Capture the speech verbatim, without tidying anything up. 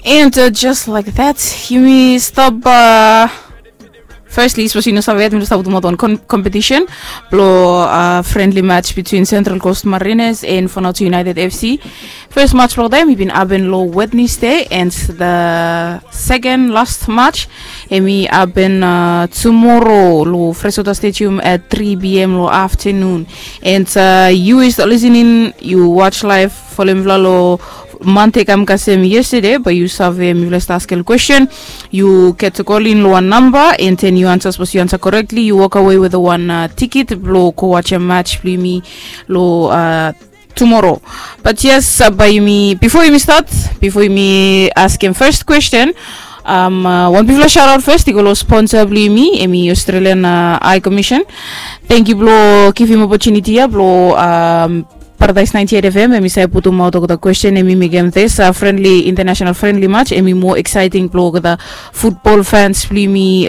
And uh, just like that, yumi stop. Uh, firstly, sapos yu no save yet, mi no stap putumaot wan competition blo uh, friendly match between Central Coast Mariners and Fanoto United F C. First match blo dem i bin happen lo Wednesday, and the second last match em i happen uh, tomorrow lo Fresota Stadium at three p.m. lo afternoon. And uh, you is listening, you watch live, follow mi lo Monday kam kasem yesterday, but you save mi vle start askel question. You get to call in lo one number, and then you answer, suppose you answer correctly, you walk away with one uh, ticket blo go watch a match blo me lo uh, tomorrow. But yes, uh, by me before you start, before you ask him first question, um, uh, one before shout out first, you go sponsor blo me, emi Australian uh, High Commission. Thank you blo give him opportunity ya blo um, Paradise ninety-eight F M, emi sai putum out of the question, emi mekem this uh, friendly, international friendly match, emi more exciting blo the football fans blo me